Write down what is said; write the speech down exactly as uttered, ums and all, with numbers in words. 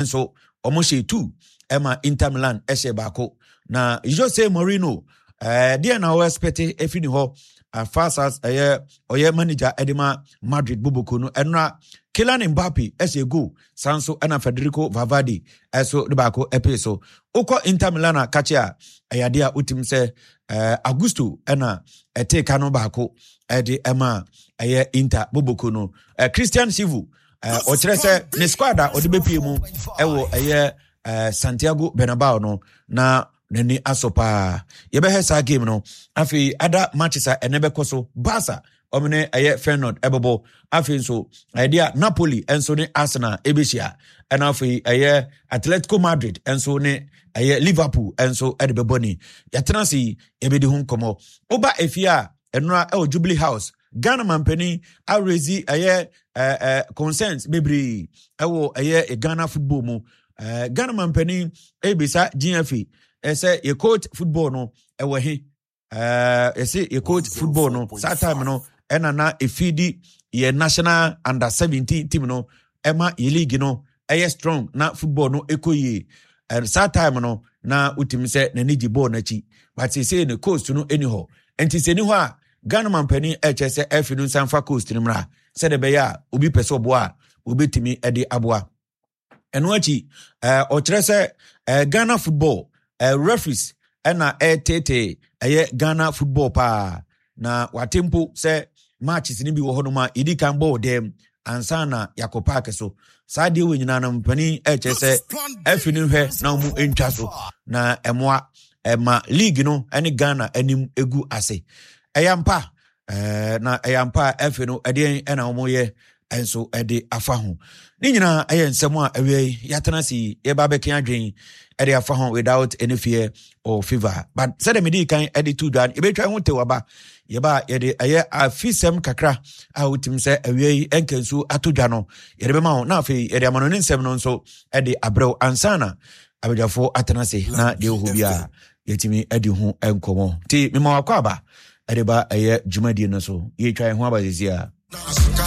Nso wɔn hyɛ two ɛma Inter Milan ɛhyɛ baako. Na Jose Mourinho ɛɛ deɛ na ɔwɔ expect efi ne hɔ afasas ɛyɛ ɔyɛ manager ɛde ma Madrid boboko no. Ɛnora Kylian Mbappe ɛhyɛ goal, san so ɛna Federico Valverde ɛso de baako ɛpee so. Wokɔ Inter Milan a kakye a ɛyɛ adeɛ a wotim sɛ ɛɛ Augusto ɛna ɛtee ka no baako ɛde ɛma ɛyɛ Inter boboko no. ɛɛ Christian Chivu ɛɛ ɔkyerɛ sɛ ne squad a ɔde bɛpie mu ɛwɔ ɛyɛ ɛɛ Santiago Bernabeu no na n'ani asɔ paa. Yɛbɛhɛ saa game no. Afei ada matches a ɛnɛ bɛkɔ so, Barca ɔmo ne ɛyɛ Feyenoord ɛbɛbɔ. Afei nso ɛde a Napoli nso ne Arsenal ɛbɛhyia, ɛna afei ɛyɛ Atletico Madrid nso ne ɛyɛ Liverpool nso ɛde bɛbɔ. Ni yɛtena ase yi, yɛbɛdi ho nkɔmmɔ. Woba efie a, ɛnora ɛwɔ Jubilee House, Ghana mampanin araise ɛyɛ ɛɛ ɛɛ concerns bebree ɛwɔ ɛyɛ Ghana football mu. ɛɛ ghana mampanin ebisa G F A ɛsɛ yɛ coach football no ɛwɔ he? ɛɛ yɛsɛ yɛ coach football no saa time no ɛna na efidi yɛ national under seventeen team no ɛma yɛ league no ɛyɛ strong na football no ɛkɔ yie. Ɛɛ saa time no na wotumi sɛ n'ani gye bɔɔl n'akyi, but sese ne coach no ɛni hɔ. Nti sɛ ni hɔ a, Ghana mampanin ɛkyɛ sɛ ɛfi no nsa nfa coach no mmra sɛdeɛ ɛbɛyɛ a obi pɛ sɛ ɔboa a obetumi ɛde aboa. Ɛno akyi ɛɛ ɔkyerɛ sɛ ɛɛ Ghana football ɛɛ referees ɛna ɛɛtete ɛyɛ Ghana football paa, na wate mpo sɛ matches no bi wɔ hɔnom a yɛdi kan bɔɔl dɛm ansa na yɛakɔ park so. Saa deɛ wɔ nyinaa no, mpanin ɛkyerɛ sɛ ɛfi no hwɛ na wɔn ntwa so na ɛmoa ɛma league no ɛne Ghana anim egu ase. Ɛyɛ mpa ɛɛ na ɛyɛ mpa a ɛfi no ɛdeɛn ɛna wɔn yɛ nso ɛde afa ho. Ne nyinaa ɛyɛ nsɛm a ɛwia yi yɛatena ase yi yɛba abɛka adwen ɛde afa ho without any fear or favour. But sɛdeɛ mede kan ɛde to dwa no, yɛbɛtwa ho tew aba. Yɛba yɛde ɛyɛ afisɛm kakra a wotumi sɛ awia yi ɛnka nsuo ato dwa no yɛde bɛma wo, na afei yɛde ama no ne nsɛm no nso ɛde abrɛw ansa na abadwafoɔ atena ase na deɛ ɛwɔ hɔ biara yɛtumi adi ho nkɔmmɔ. Nti mema wakɔ aba ɛde ba ɛyɛ dwumadie no so. Yɛtwa yɛn ho aba sisi a.